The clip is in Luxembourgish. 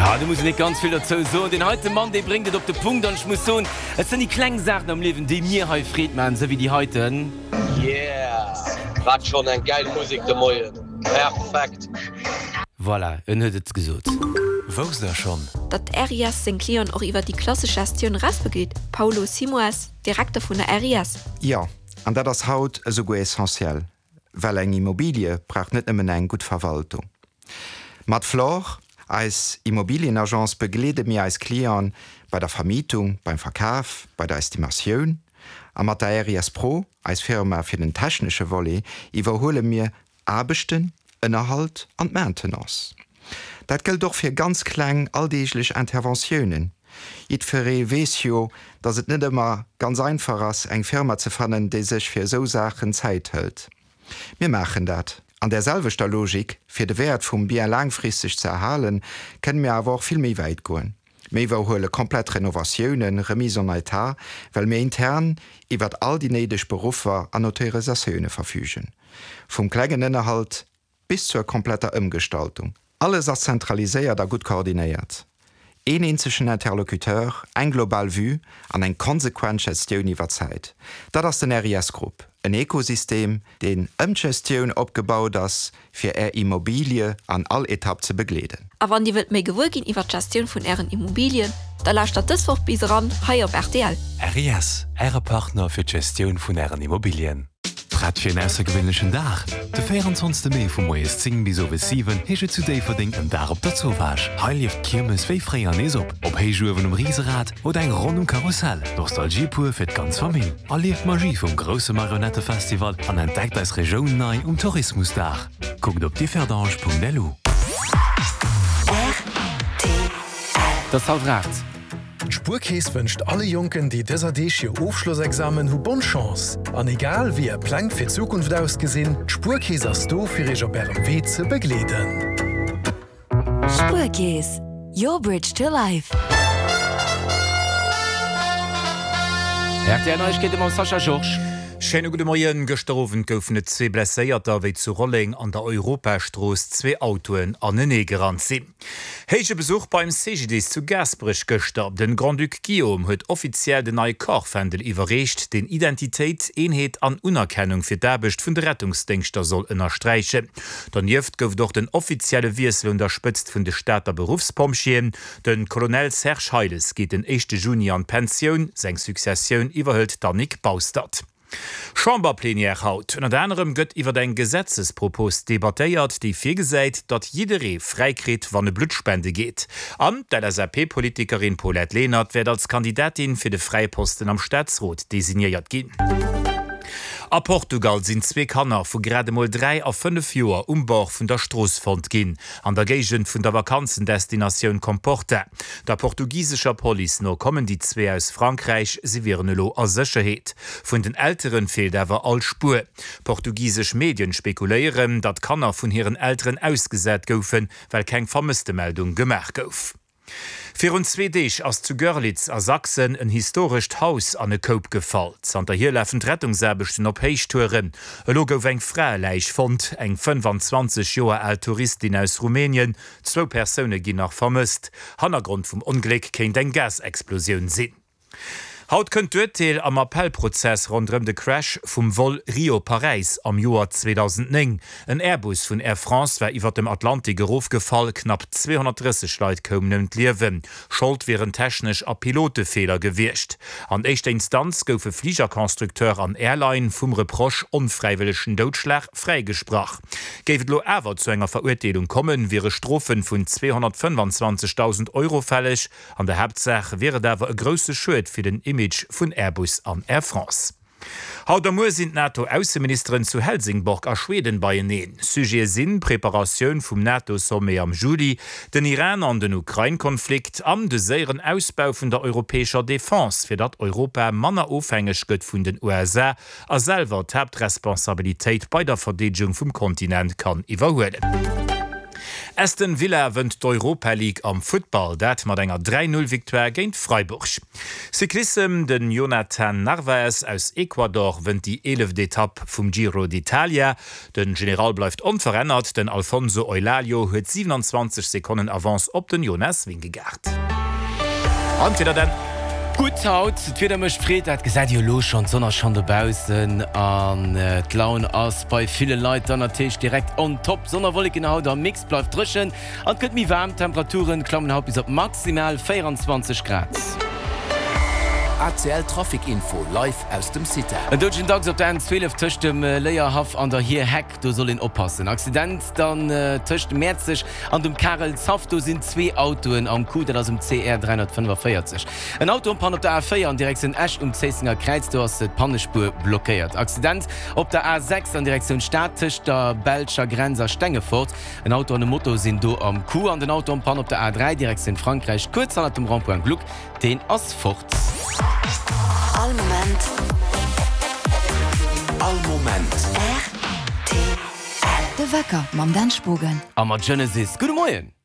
Jo, do muss een net ganz vill dozou soen. Deen heite Mann, dee bréngt et op de Punkt. An ech muss soen, et sinn déi kleng Saachen am Liewen, déi mir hei Freed maachen, esou wéi déi heiten. Yeah! Wat schon eng gäil Musek de Moien! Perfekt! Voilà, en huet et gesot. Wousst der schonn? Datt d'RIS seng Clienten och iwwer déi klassesch Gestioun erausbegleet, Paulo Simoes, Direkter vun der RIS. Jo, an dat ass haut esouguer essentiell, well eng Immobilie brauch net nëmmen eng gutt Verwaltung. Mat Flore, eis Immobilienagence, begleede mir eis Clienten bei der Vermietung, beim Verkaf, bei der Estimatioun. A mat der RIS Pro, eis Firma fir den technesche Volet, iwwerhuele mir Aarbechten, Ënnerhalt an d'Maintenance. Dat gëllt och fir ganz kleng alldeeglech Interventiounen. Jiddferee weess jo, dass et net ëmmer ganz einfach ass, eng Firma ze fannen, déi sech fir esou Saachen Zäit hëlt. Mir maachen dat. An där selwechter Logik, fir de Wäert vum Bien laangfristeg ze erhalen, kënne mir awer och vill méi wäit goen. Mir iwwerhuele komplett Renovatiounen, Remise en état, well mir intern iwwert all déi néideg Beruffer an Autorisatioune verfügen. Vum klengen Ënnerhalt bis zur kompletter Ëmgestaltung. Alles ass zentraliséiert a gutt koordinéiert. Een eenzegen Interlocuteur, eng global Vue an eng konsequent Gestioun iwwer d'Zäit. Dat ass den RIS Group, en Ekosystem, deen ëm d'Gestioun opgebaut ass, fir Är Immobilie an all Etapp ze begleeden. A wann Dir wëllt méi gewuer ginn iwwer d'Gestioun vun Ären Immobilien, da lauschtert dës Woch bis eran hei op rtl. RIS, Äre Partner fir d'Gestioun vun Ären Immobilien. Prett fir en aussergewéinlechen Dag? De 24 Mee vu moies 10 bis owes 7 heescht et zu Déifferdeng en Dag op der Zowaasch. Hei lieft d'Kiermes wéi fréier nees op. Op Héichuewen um Riserad oder eng Ronn um Karussell, Nostalgie pur fir d'ganz Famill. Erlieft d'Magie vum grousse Marionettefestival an entdeckt eis Regioun nei um Tourismusdag. Kuckt op differdange.lu. Rtl. Et ass hallwer 8. D'Spuerkeess wënscht alle Jonken, déi dëser Deeg hir Ofschlossexamen hu bonne Chance. An egal wéi är Pläng fir d'Zukunft ausgesinn, d'Spuerkeess ass do fir iech op ärem Wee ze begleeden. Spuerkeess, your bridge to life. Rtl Neiegkeete mam Sascha Georges. Schéine gudde Moien. Gëschter Owend goufen et zwee Blesséierter, wéi zu Rolleng an der Europastrooss zwee Autoen anenee gerannt sinn. Héije Besuch beim CGDIS zu Gaasperech gëschter. Den Grand-Duc Guillaume huet offiziell den neie Corpsfändel iwwerreecht, deen Identitéit, Eenheet an Unerkennung fir d'Aarbecht vun de Rettungsdéngschter soll ënnersträichen. Donieft gouf et och den offizielle Wiessel un der Spëtzt vun de Stater Beruffspompjeeën. De Colonel Serge Heiles geet den éischte Juni an d'Pensioun, seng Successioun iwwerhëlt d'Annick Baustert. Chamberplenière haut. Ënnert anerem gëtt iwwer eng Gesetzespropos debattéiert, déi virgesäit, datt jidderee fräi kritt, wann e Blutt spende geet. An d'LSAP-Politikerin Paulette Lenert wäert als Kandidatin fir de fräie Posten am Staatsrot designéiert ginn. A Portugal sinn zwee Kanner vu grad emol 3 a 5 Joer um Bord vun der Strooss fonnt ginn, an der Géigend vun der Vakanzendestinatioun Comporta. Der portugisescher Police no kommen déi zwee aus Frankräich, si wieren elo a Sécherheet. Vun den Elteren feelt awer all Spuer. Portugisesch Medien spekuléieren, datt d'Kanner vun hiren Elteren ausgesat goufen, well keng Vermësstemeldung gemaach gouf. Virun zwee Deeg ass zu Görlitz a Sachsen en historescht Haus an e Koup gefall. Zanterhier lafen d'Rettungsaarbechten op Héichtouren. Elo gouf eng Fraeläich fonnt, eng 25 Joer al Touristin aus Rumänien. Zwou Persoune ginn nach vermësst. Hannergrond vum Ongléck kéint eng Gasexplosioun sinn. Haut kënnt d'Urteel am Appellprozess ronderëm de Crash vum Vol Rio-Paräis am Joer 2009. En Airbus vun Air France war iwwer dem Atlantik erofgefall, knapp 230 Leit koumen ëm d'Liewen. Schold wieren technesch a Pilotefeeler gewiescht. An éischter Instanz goufe Fligerconstructeur an Airline vum Reproche onfräiwëllegen Doudschlag fräigesprach. Géif et elo awer zu enger Verurteelung kommen, wiere Strofe vun 225.000 Euro fälleg. An der Haaptsaach wier et awer e grousse Schued fir den Image vun Airbus an Air France. Haut a muer sinn d'NATO-Ausseministeren zu Helsingborg a Schweden beieneen. Sujete sinn d'Preparatioun vum NATO-Sommet am Juli, den Iran an den Ukrain-Konflikt an de séieren Ausbau vun der europäescher Defense, fir datt Europa manner ofhängeg gëtt vun den USA a selwer d'Haaptresponsabilitéit bei der Verdeedegung vum Kontinent kann iwwerhuelen. Aston Villa wënnt d'Europa League am Futtball, dat mat enger 3, 0 Victoire géint Freiburg. Cyclissem, Den Jhonatan Narvaez aus Ecuador wënnt déi eeleft Etapp vum Giro d'Italia. Den General bleift onverännert, den Alfonso Eulalio huet 27 Sekonnen Avance op den Jonas Vingegaard. An d'Wieder dann? Gutt haut, d'Wieder mécht Freed, dat gesäit Dir jo elo schonn, d'Sonn ass schonn dobaussen an d'Laun ass bei ville Leit dann natierlech direkt on top. Sonn a Wolleken haut am Mix, bleift dréchen an et gëtt méi waarm, d'Temperaturen klammen haut bis op maximal 24 Grad. ACL Trafic Info live aus dem CITA. En doudegen Dachs op der N12 tëscht dem Léierhaff an der Hierheck, do soll een oppassen. Accident dann tëscht Mäerzeg an dem Karelshaff, do sinn zwee Autoen am Coup, dat ass um CR 345. En Auto en panne op der A4 an Direktioun Esch um Zéissenger Kräiz, do ass d'Pannespuer blockéiert. Accident op der A6 an Direktioun Stad tëscht der belscher Grenz a Stengefort, en Auto an e Moto sinn do am Coup. An den Auto en panne op der A3 Direktioun Frankräich kuerz hannert dem Rond-point Gluck, Deen ass fort. All Moment. All Moment. Rtl. De Wecker mam Dan Spogen. A mat Genesis. Gudde Moien!